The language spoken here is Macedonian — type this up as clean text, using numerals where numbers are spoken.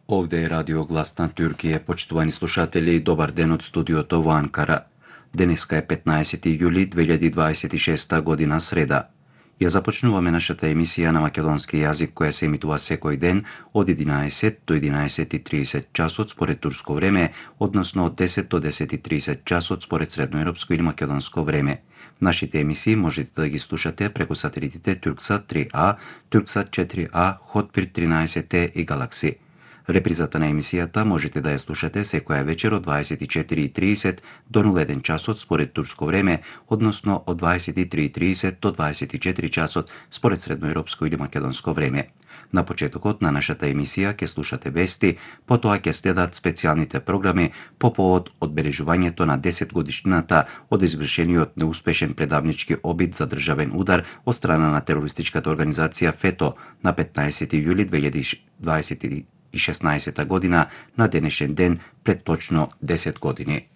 Овде е Радио Глас на Туркија, почитувани слушатели, добар ден од студиото во Анкара. Денеска е 15 јули 2026 година, среда. Ја започнуваме нашата емисија на македонски јазик, која се емитува секој ден од 11 до 11:30 часот според турско време, односно од 10 до 10:30 часот според средноевропско или македонско време. Нашите емисии можете да ги слушате преку сателитите Турксат 3А, Турксат 4А, Хотбирд 13T и Галакси. Репризата на емисијата можете да ја слушате секоја вечер од 24:30 до 01 часот според турско време, односно од 23:30 до 24 часот според средноевропско или македонско време. На почетокот на нашата емисија ќе слушате вести, потоа ќе следат специјалните програми по повод одбележувањето на 10 годишнината од извршениот неуспешен предавнички обид за државен удар од страна на терористичката организација ФЕТО на 15 јули 2016 година, на денешен ден пред точно 10 години.